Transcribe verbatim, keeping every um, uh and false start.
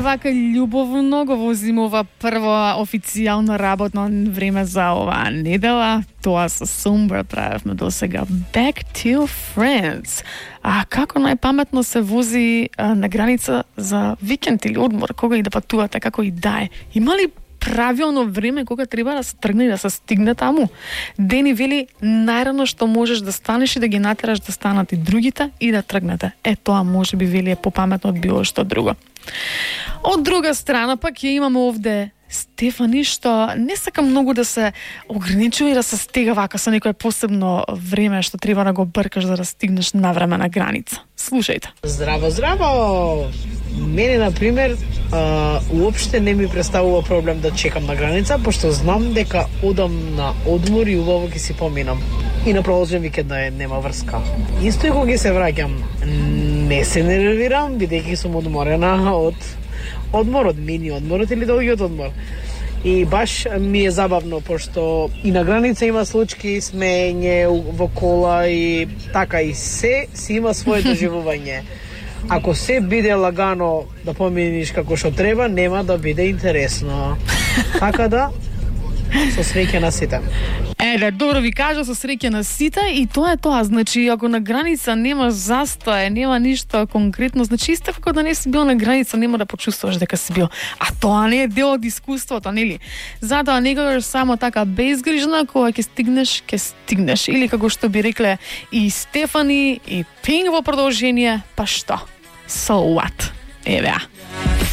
е вака љубовно го возимува прво официјално работно време за оваа недела. Тоа со Sombra правевме до сега. Back to Friends. А како најпаметно се вози а, на граница за викенд или одмор, кога и да патувате, како и да е? Има ли правилно време кога треба да се тргне и да се стигне таму? Дени вели најрано што можеш да станеш и да ги натераш да станат и другите и да тргнете. Е, тоа може би вели е попаметно од било што друго. Од друга страна пак ја имаме овде Стефани, што не сака многу да се ограничува и да се стега вака со некое посебно време што треба да го бркаш за да стигнеш на време на граница. Слушајте. Здраво, здраво! Мене, например, а, уопште не ми представува проблем да чекам на граница, пошто знам дека одам на одмор и убаво ќе си поминам. И на продолжен викенд да нема врска. Исто и кога се враќам, не се нервирам, бидејќи сум одморена од одмор, од мини одморот или долгиот одмор. И баш ми е забавно, пошто и на граница има случки, смење во кола и така, и се си има своето доживување. Ако се биде лагано да поминиш како што треба, нема да биде интересно. Така да, со среќа на сите. Еле, добро ви кажа, со среќа на сите, и тоа е тоа. Значи, ако на граница нема застој, нема ништо конкретно, значи исто како да не си бил на граница, нема да почувствуваш дека си бил. А тоа не е дел од искуството, нели? Затоа некогаш само така безгрижна, кога ќе стигнеш, ќе стигнеш. Или како што би рекле и Стефани, и Пинг во продолжение, па што? So what? Еве.